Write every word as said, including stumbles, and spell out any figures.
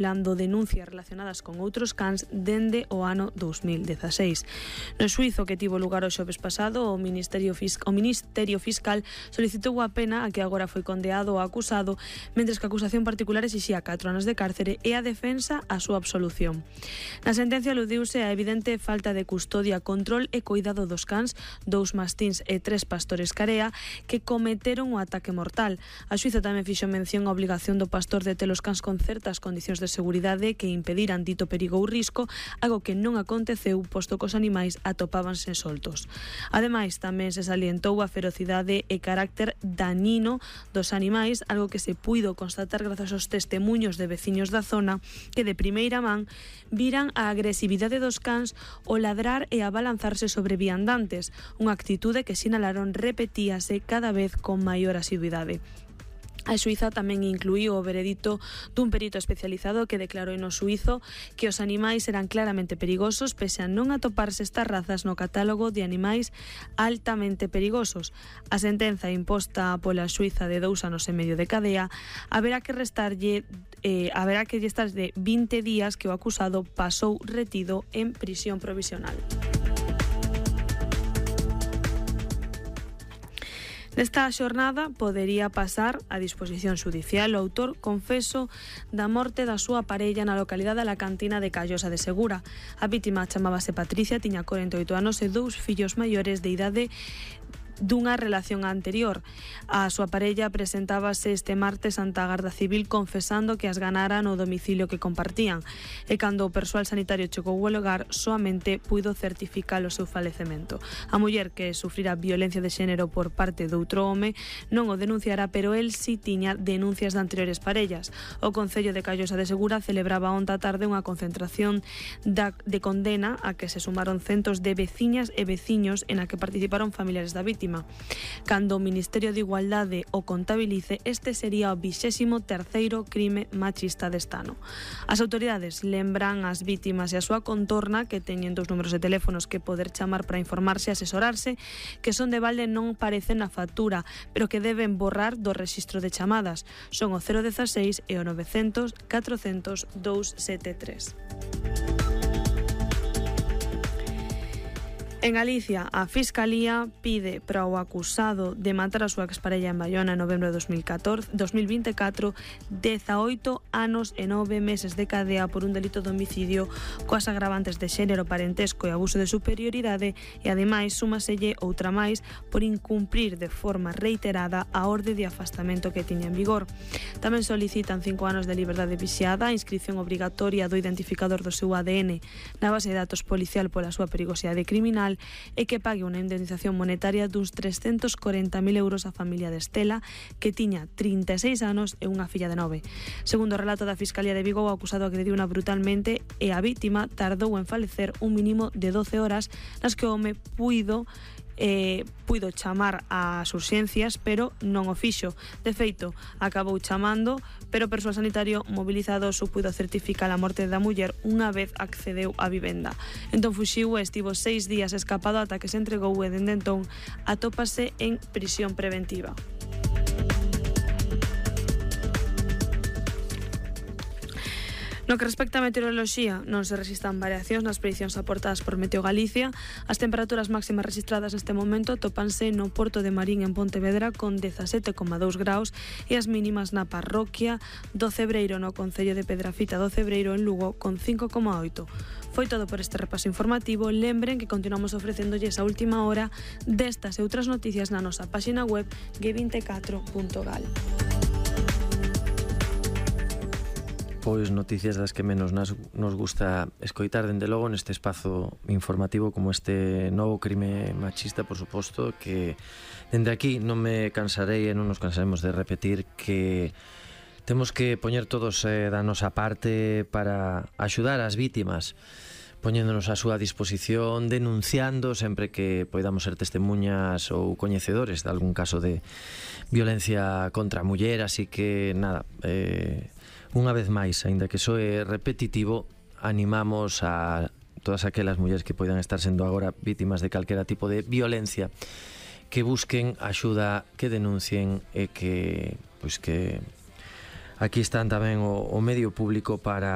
acumulando denuncias relacionadas con outros cans dende o ano dous mil dezaseis. No xuízo que tivo lugar o xoves pasado, o Ministerio, Fisc- o Ministerio Fiscal solicitou a pena a que agora foi condeado o acusado, mentres que a acusación particular exixía catro anos de cárcere e a defensa a súa absolución. Na sentencia aludiuse a evidente falta de custodia, control e cuidado dos cans, dous mastíns e tres pastores carea que cometeron o ataque mortal. A xuíza tamén fixo mención á obligación do pastor de ter os cans con certas condicións de seguridade que impediran dito perigo ou risco, algo que non aconteceu posto que os animais atopábanse soltos. Ademais, tamén se salientou a ferocidade e carácter dañino dos animais, algo que se puido constatar grazas aos testemuños de veciños da zona que de primeira man viran a agresividade dos cans, o ladrar e a balanzarse sobre viandantes, unha actitude que sinalaron repetíase cada vez con maior asiduidade. A xuíza tamén incluíu o veredito dun perito especializado que declarou no xuízo que os animais eran claramente perigosos pese a non atoparse estas razas no catálogo de animais altamente perigosos. A sentenza imposta pola xuíza de dous anos e medio de cadea haberá que restarlle eh, haberá que estar de vinte días que o acusado pasou retido en prisión provisional. Nesta xornada podería pasar a disposición xudicial o autor confeso da morte da súa parella na localidade da Cantina de Callosa de Segura. A vítima chamábase Patricia, tiña corenta e oito anos e dous fillos maiores de idade dunha relación anterior. A súa parella presentábase este martes ante a Garda Civil confesando que as ganara no domicilio que compartían e cando o persoal sanitario chegou ao lugar soamente puido certificar o seu falecemento. A muller que sufrira violencia de xénero por parte doutro home non o denunciara, pero el si tiña denuncias de anteriores parellas. O Concello de Callosa de Segura celebraba onta tarde unha concentración da, de condena a que se sumaron centos de veciñas e veciños en a que participaron familiares da vítima. Cando o Ministerio de Igualdade o contabilice, este sería o vixésimo terceiro crime machista deste ano. As autoridades lembran as vítimas e a súa contorna que teñen dos números de teléfonos que poder chamar para informarse e asesorarse, que son de balde non parecen na factura, pero que deben borrar do rexistro de chamadas. Son o cero dezasseis e o novecentos catrocentos dous sete tres. En Galicia, a Fiscalía pide para o acusado de matar a súa exparella en Baiona en novembro de dos mil catorce, dos mil vinte e catro dezaoito anos e nove meses de cadea por un delito de homicidio coas agravantes de xénero, parentesco e abuso de superioridade e ademais súmaselle outra máis por incumprir de forma reiterada a orde de afastamento que tiña en vigor. Tamén solicitan cinco anos de liberdade vixiada, a inscripción obrigatoria do identificador do seu A D N na base de datos policial pola súa perigosidade criminal e que pague unha indemnización monetaria duns trescentos corenta mil euros á familia de Estela, que tiña trinta e seis anos e unha filla de nove. Segundo o relato da Fiscalía de Vigo, o acusado agrediuna brutalmente e a vítima tardou en falecer un mínimo de doce horas nas que o home puido Eh, puido chamar ás urxencias, pero non o fixo. De feito, acabou chamando, pero o persoal sanitario mobilizado só puido certificar a morte da muller unha vez accedeu á vivenda. Entón fuxiu e estivo seis días escapado ata que se entregou e dende entón atópase en prisión preventiva. No que respecta a meteoroloxía, non se resistan variacións nas predicións aportadas por Meteo Galicia. As temperaturas máximas registradas neste momento tópanse no Porto de Marín en Pontevedra con dezasete coma dous graus e as mínimas na parroquia do Cebreiro no concello de Pedrafita do Cebreiro en Lugo con cinco coma oito. Foi todo por este repaso informativo. Lembren que continuamos ofrecéndolles a última hora destas e outras noticias na nosa páxina web ge vinte e catro punto gal. Pois noticias das que menos nas, nos gusta escoitar dende logo neste espazo informativo como este novo crime machista, por suposto, que dende aquí non me cansarei e non nos cansaremos de repetir que temos que poñer todos eh, da nosa parte para axudar as vítimas, poñéndonos a súa disposición, denunciando sempre que poidamos ser testemunhas ou coñecedores de algún caso de violencia contra a muller. Así que nada, eh, unha vez máis, aínda que soe repetitivo, animamos a todas aquelas mulleres que poidan estar sendo agora vítimas de calquera tipo de violencia que busquen axuda, que denuncien e que, pois que aquí están tamén o, o medio público para